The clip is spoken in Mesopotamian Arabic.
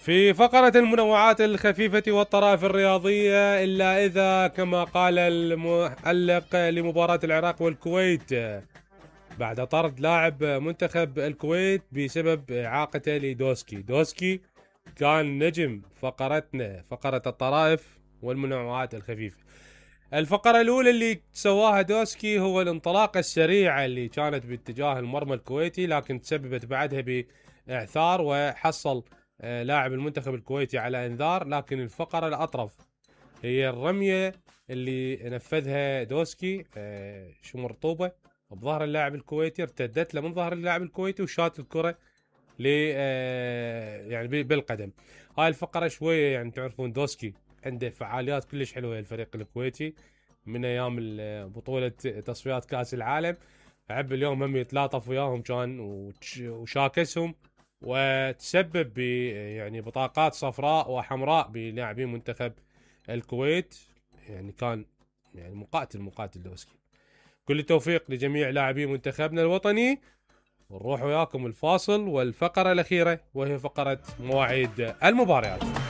في فقرة المنوعات الخفيفة والطرائف الرياضية، إلا إذا كما قال المعلق لمباراة العراق والكويت بعد طرد لاعب منتخب الكويت بسبب إعاقته لدوسكي. دوسكي كان نجم فقرتنا، فقرة الطرائف والمنوعات الخفيفة. الفقرة الأولى اللي سواها دوسكي هو الانطلاقة السريعة اللي كانت باتجاه المرمى الكويتي، لكن تسببت بعدها بإعثار وحصل لاعب المنتخب الكويتي على انذار. لكن الفقرة الأطرف هي الرمية اللي نفذها دوسكي شمر طوبة بظهر اللاعب الكويتي، ارتدت له من ظهر اللاعب الكويتي وشات الكرة يعني بالقدم. هاي الفقرة شوية يعني تعرفون دوسكي عنده فعاليات كلش حلوة الفريق الكويتي من ايام بطولة تصفيات كاس العالم. عب اليوم هم يتلاطف وياهم كان وشاكسهم، وتسبب يعني بطاقات صفراء وحمراء بلاعبين منتخب الكويت. يعني كان يعني مقاتل دوسكي. كل التوفيق لجميع لاعبي منتخبنا الوطني. ونروح وياكم الفاصل والفقرة الأخيرة وهي فقرة مواعيد المباريات.